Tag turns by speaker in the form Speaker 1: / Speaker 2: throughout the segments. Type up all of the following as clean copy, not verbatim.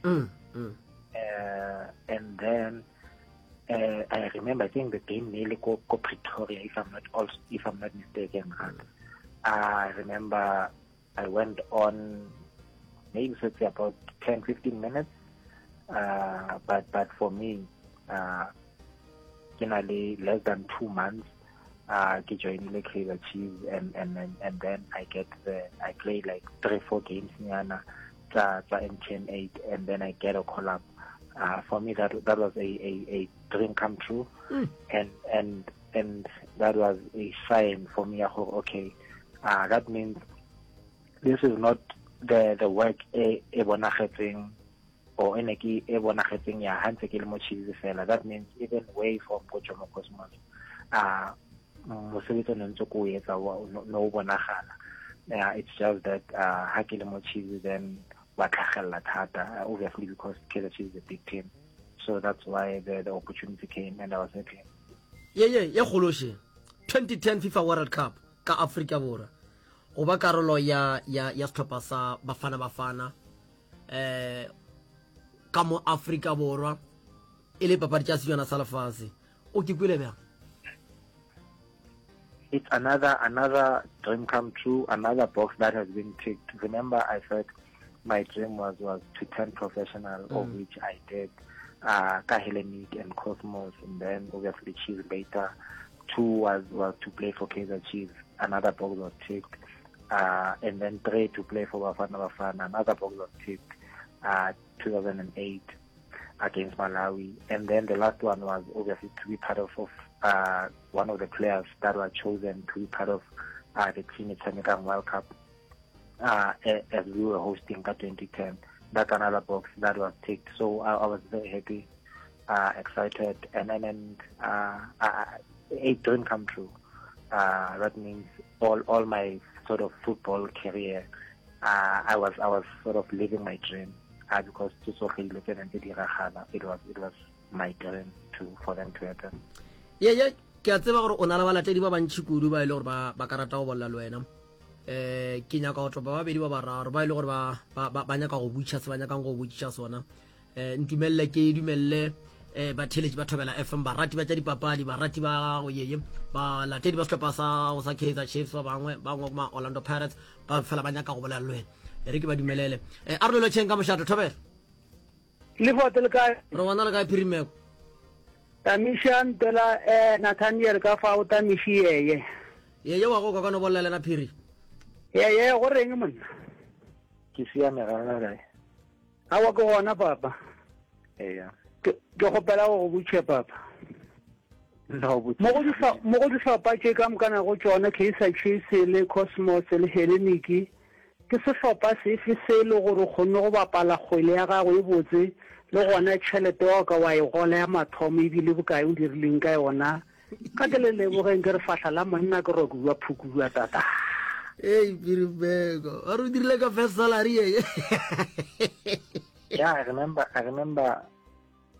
Speaker 1: Mm, mm. Uh, and then uh, I remember I think the game nearly go, go Pretoria if I'm not also if I'm not mistaken. Mm. I remember I went on maybe let's say about 10 15 minutes uh, but but for me uh ke na le less than two months uh ke joinile Kaizer Chiefs and and and, and then I get the I play like three four games nyana tsa tsa MTN 8 and then I get a call up uh, for me that that was a a, a dream come true mm. and and and that was a sign for me okay uh, that means this is not the the work e e bonagetseng or e ne ke e bonagetseng ya ha ntse ke le mo Chiefs fela that means even way from go Jomo Cosmos uh mosebetsi o ne ntse ko o etsa no o bonagala yeah it's just that uh ha ke le mo Chiefs then wa tlhagelela thata uh, obviously because Kaizer Chiefs is a big team so that's why the, the opportunity came and I was happy
Speaker 2: ye ye ye kgološe 2010 FIFA World Cup ka Afrika Borwa go ba karolo ya ya ya sehlopha sa Bafana Bafana eh ka mo Afrika Borwa e le papadi tša sejana sa lefase o ke kwele bjang
Speaker 1: it's another another dream come true another box that has been ticked remember i said my dream was was to turn professional mm. of which i did uh ka Hellenic and Cosmos and then obviously Chiefs later two was was to play for Kaizer Chiefs another box was ticked uh, and then three to play for Bafana Bafana another box was ticked uh 2008 against Malawi. And then the last one was obviously to be part of, of uh, one of the players that were chosen to be part of uh, the team at Senegal World Cup uh, as we were hosting at 2010. That's another box that was ticked. So I, I was very happy, uh, excited, and then and, uh, I, a dream come true. Uh, that means all, all my sort of football career, uh, I was I was sort of living my dream uh, because tse tsotlhe dilo tse neng tse diragala it was it was my dream to for them to happen.
Speaker 2: Ye ye ke a tseba gore o na le balatedi ba bantši kudu ba e le gore ba ba ka rata go bolela le wena eh ke nyaka go tlopa babedi ba bararo ba e le gore ba ba ba nyaka go butša se ba nyakang go botšiša sona eh ntumelele ke dumelele eh batheletši ba thobela fm barati ba tša dipapadi barati ba go yeye balatedi ba sehlopha sa go sa kaizer chiefs ba bangwe ba bangwe ma orlando pirates ba fela ba nyaka go bolela le wena e re ke ba dumelele eh a re lotšheng ka mošato thobela
Speaker 3: le fote le kae
Speaker 2: re gona le kae phirimeko
Speaker 3: tamiša ntela eh nathaniel ka fa o tamiši yeye
Speaker 2: yeye wa go kwa ka no bolela lena phiri
Speaker 3: yeye go reng monna
Speaker 1: ke siame ga rena kae
Speaker 3: Aowa ke gona papa.
Speaker 1: Eya.
Speaker 3: Ke ke kgopela go go botšhe papa.
Speaker 1: No botšiša.
Speaker 3: Mo go dihlo mo go dihlopha tše ka mokana go tšona Kaizer Chiefs le Cosmos le Hellenic ke sehlopha sefe se e le gore o kgonne go bapala kgwele ya gago e botse le gona tšhelete wa ka wa e gola ya mathomo e bile bokae o dirileng ka yona Ka ke le lebogeng ke re fahla la monna ke rokuwa phukuwa tata.
Speaker 2: Ei Piribeko, o re o dirile ka first salary ye.
Speaker 1: Yeah, I remember I remember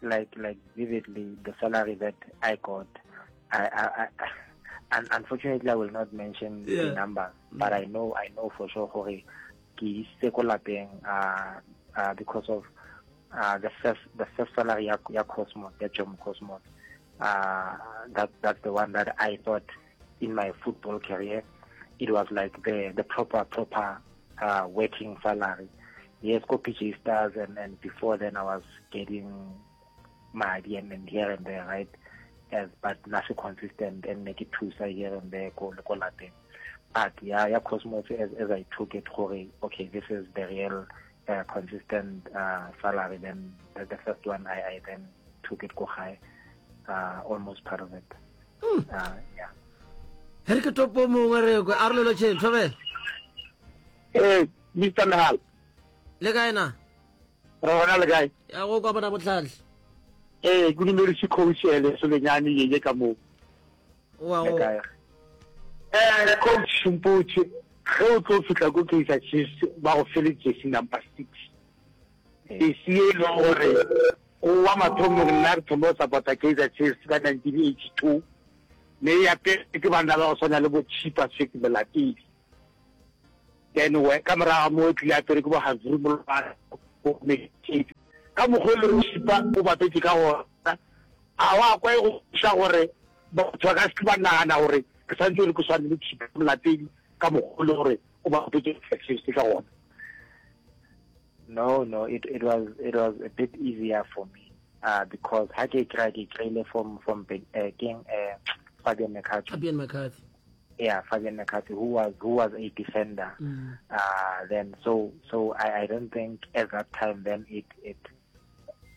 Speaker 1: like like vividly the salary that I got. I I, I and unfortunately I will not mention yeah. the number, but I know I know for sure gore ke isitse ko lapeng uh, uh, because of uh, the first the first salary ya, ya Cosmos ya Jomo Cosmos uh, that that's the one that I thought in my football career it was like the the proper proper uh, working salary yes go PJ Stars and and before then I was getting madi and, and here and there right as but nothing consistent and make it thusa here and there go go lapeng but yeah yeah Cosmos as, as I took it gore okay this is the real uh, consistent uh, salary then the, the first one I, I then took it go gae uh, almost part of it mm. uh, yeah
Speaker 2: re ke topo mongwe re kwe a re lelo tšheng thobela
Speaker 3: ee mr nahal
Speaker 2: le kae na
Speaker 3: re gona le kae
Speaker 2: ya go kwa bona botlhatlhe
Speaker 3: ee ke dumedise coach ele solenyane yeye ka moo
Speaker 2: wa go
Speaker 3: eh coach mpotše ge o tlo fihla ko Kaizer Chiefs ba go fele jersey number 6 jersey e leng gore go wa mathomong nna re thoma go support-a Kaizer Chiefs ka 1982 mme ya pele ke banna ba go swana le bo Chipa Swick Molatedi then we ka morago mo tlile apere ke bo Hazri Molwana bo
Speaker 4: Ka mokgwa o e le gore Chippa o bapetše ka gona, a wa kwa e go botša gore batho ba ka se ke ba nagana gore ke swanetše gore ke swane le Chippa Molatedi ka mokgwa o le gore o bapetše Kaizer Chiefs ka gona?
Speaker 1: No, no, it, it was it was a bit easier for me uh, because ha ke kry ke kry-ile from from uh, King uh, Fabian McCarthy.
Speaker 2: Fabian McCarthy.
Speaker 1: Yeah, Fabian McCarthy, who was who was a defender. Mm. Uh, then so so I, I don't think at that time then it it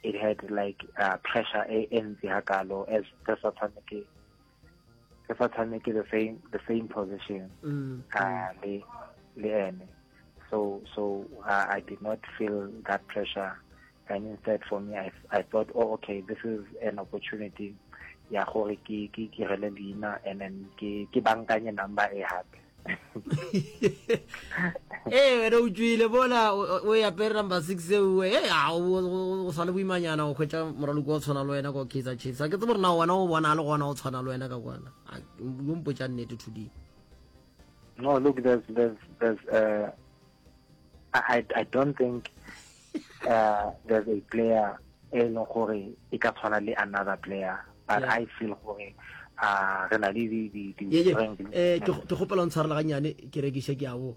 Speaker 1: it had like uh, pressure e ntsi hakalo as re sa tshameke re sa tshameke the same the same position mm. uh, le le ene so so uh, I did not feel that pressure and instead for me I, I thought oh okay this is an opportunity ya gore ke ke direle leina and then ke ke bankanye number e hape
Speaker 2: ee wena o tswile bola o e apere number 6 ewe e a o sa le boimanyana o hwetša moraloki wa tshwana le wena kwa Kaizer Chiefs a ke tsebe gore na wena o bona a le gona o tshwana le wena ka kwana yo mpotša nnete thuding
Speaker 1: no look there's there's there's uh, I, I don't think uh, there's a player e leng gore e ka tshwana le another player but yeah. I feel gore uh, re na le di di di
Speaker 2: eh ke gopela o ntshwarela gannyane ke rekiše ke a bo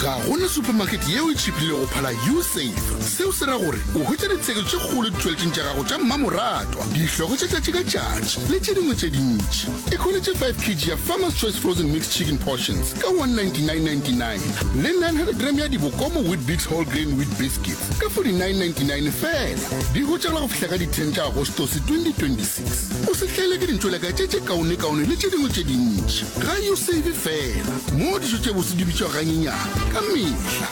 Speaker 5: Ga go na supermarket yeo e tšhipilego go phala U-Save. Seo se ra gore o hwetša ditsheko tše kgolo ditšweletšing tša gago tša mmamoratwa, dihlogo tša tšatši ka tšatši le tše dingwe tše dintši. Ikhweletše 5 kg ya Farmer's Choice Frozen Mixed Chicken Portions ka 199.99 le 900 gram ya Dibokomo Weet-Bix Whole Grain Wheat Biscuits ka 49.99 feela. Di hwetšagala go fihla ka di 10 tša Agostose 2026. O se hlaelwe ke dintšoleka tše tše kaonekaone le tše dingwe tše dintši. Ga U-Save feela, moo dijo tše bose di bitšwago ganyenyane ka mehla.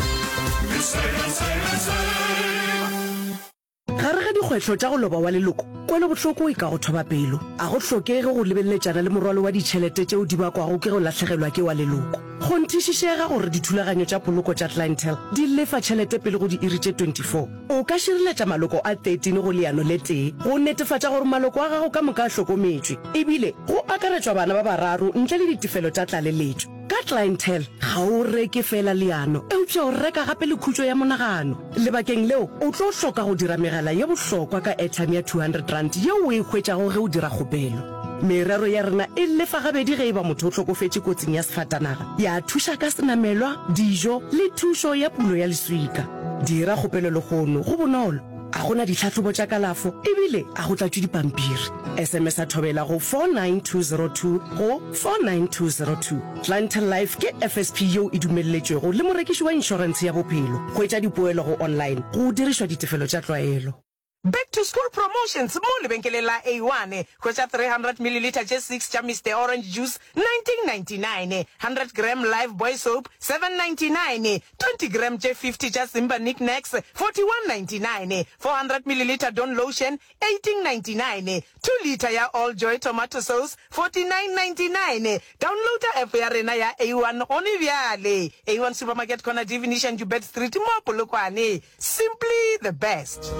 Speaker 6: Gare ga dikgwetlho tša go loba wa leloko, kwelobohloko e ka go thoba pelo. A go hlokege go lebeleletšana le morwalo wa ditšhelete tšeo di bakwago ke go lahlegelwa ke wa leloko. Kgonthišišega gore dithulaganyo tša poloko tša Clientele di lefa tšhelete pele go diiri tše 24. O ka šireletša maloko a 13 go leano le tee go netefatša gore maloko a gago ka moka a hlokometšwe, ebile go akaretšwa bana ba bararo ntle le ditefelo tša tlaleletšo. Ka Clientele, ga o reke feela leano, eupša o reka gape le khutšo ya monagano. Lebakeng leo, o tlo hloka go dira megala ye bohlokwa ka airtime ya R200 yeo o e hwetšago ge o dira kgopelo. Merero ya rena e lefa gabedi ge e ba motho o hlokofetše kotsing ya sefatanaga, ya thuša ka senamelwa, dijo le thušo ya pulo ya leswika. Dira kgopelo lehono, go bonolo, ga go na ditlhahlobo tša kalafo ebile ga go tlatšwe dipampiri. SMS-a Thobela go 49202 go 49202. Clientele Life ke FSP yeo e dumelletšwego le morekiši wa inšorentshe ya bophelo. Hwetša dipoelo go online go dirišwa ditefelo tša tlwaelo.
Speaker 7: Back to school promotions mo lebenkeleng la A1. Hwetša 300 millilitre tše 6 tša Mister Orange Juice, 19.99, 100 gram Lifebuoy soap, 7.99, 20 gram tše 50 tša Simba Nik Naks, 41.99, 400 millilitre Dawn Lotion, 18.99, 2 litre ya All Joy Tomato Sauce, 49.99. Downloada app ya rena ya A1 gone bjale. A1 Supermarket Corner Divination Joubert Street mo Polokwane. Simply the best.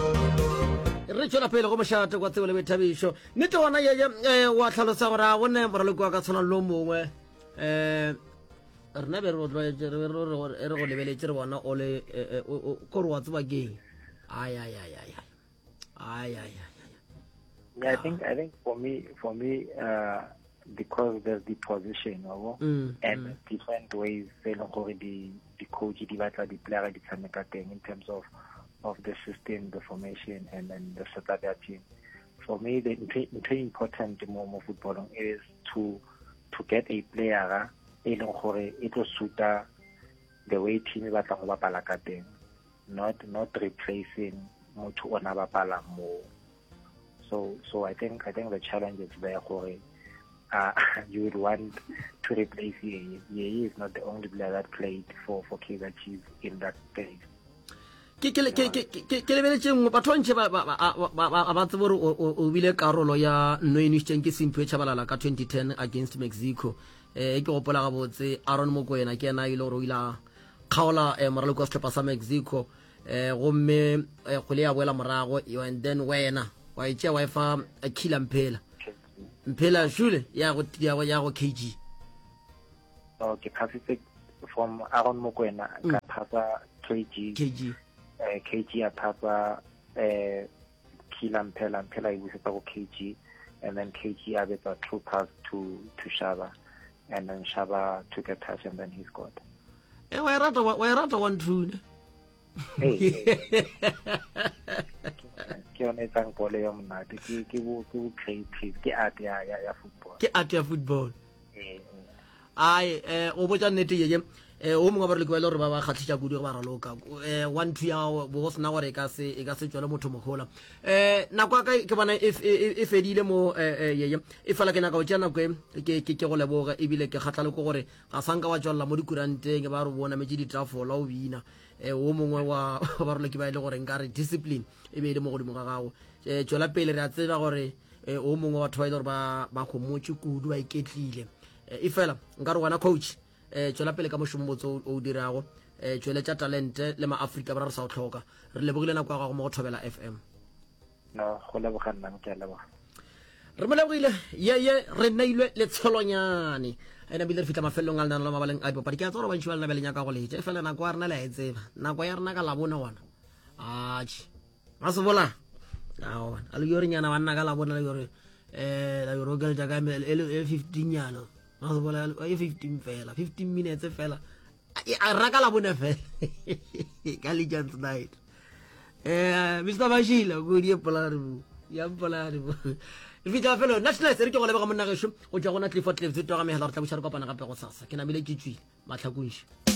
Speaker 2: Re tšwela pele go mošate kwa tsebo le boithabišo. Nnete gona yeye eh, wa hlalosa gore a bone moraloki wa ka tshwana le o mongwe um rena be re go tlwaetše re be re re re go lebeletše re bona o le eh, eh, o- o- kore wa tseba keng ai ai ai ai ai ai ai ai
Speaker 1: Yeah, I think I think for me for me uh, because there's the position wa mm, and mm. different ways tse e leng gore di di coach di batla di player di tshameka teng in terms of of the system the formation and then the setup ya team for me the ntho important mo mo footballong is to to get a player e leng gore e tlo suta the way team e batla go bapala ka teng not not replacing motho o na bapala mo so so i think i think the challenge is there gore uh, you would want to replace Yeye. Yeye is not the only player that played for for Kaizer Chiefs in that space.
Speaker 2: Ke ke ke ke ke lebeletše nngwe batho ba ntše ba ba ba ba tsebe gore o bile karolo ya nno e nwešitšeng ke Simphiwe Tshabalala ka 2010 against Mexico. Eh ke gopola gabotse Aaron Mokoena ke yena e le gore o ile a kgaola eh, moraloki wa sehlopha sa Mexico eh gomme eh, kgwele ya boela morago and then wena wa e tšea wa e fa eh, Killer Mphela Mphela shule ya go ya go ya go KG
Speaker 1: okay phasitse from Aaron Mokoena mm. phasa KG
Speaker 2: KG
Speaker 1: eh KG a phasa eh Killer Mphela Mphela e busetsa go KG and then KG a betsa true pass to to Shaba and then Shaba took a touch and then he scored.
Speaker 2: Eh wa e rata wa e rata one two ne.
Speaker 1: Ke yone e tsang bolo ya monate ke ke bo ke bo creative ke art ya ya ya football.
Speaker 2: Ke art ya football. Ai eh o botša nnete ye eh o mongwe ba re le gore ba ba kgatlhisa kudu ge ba raloka eh one two ya bo go sena gore e ka se e ka se tšwele motho mohola eh nako ya ka ke bona e, e, e, e fedile mo eh, eh, ye e fela ke nyaka go tšea nako e ke ke ke go leboga ebile ke kgatla le ko gore ga sanka wa tšwelela mo dikuranteng ba re bona metse ditafola o bina eh o mongwe wa ba roloki ba e le gore nka re discipline e be e le mo godimo ga gago eh tšwela pele re a tseba gore eh, o mongwe wa batho ba e le gore ba ba gomotše kudu ba iketlile eh, e fela nka re wena coach eh, tšwela pele ka mošomo botse o o dirago eh, tšweletša talente le maafrika borwa re sa o tlhoka re lebogile nako ya gago mo go thobela fm
Speaker 1: No, go leboga nna ke a leboga.
Speaker 2: re mo lebogile ye ye re neilwe letsholonyane ene bile re fitlha mafelelong a lenano la mabaleng a dipapadi ke a tseba gore bantši ba lena be le nyaka go letša e fela nako ya rena le a e tseba nako ya rena ka labone gona atšhe ga se bola aowa a le yore nyana banna ka labona le yore eh la yore okeletša ka e le e 15 nyana ga se bola e 15 fela 15 minutes fela a raka la bone fela ka legends night eh Mr Bashila go di pola re bu ya pola re bu re fitla felo national se re ke go lebega monna gešo go tšwa gona Clifford Cliffs toga megala re tla buša re kopana gape go sasa ke namile ke tswile matlhakunši.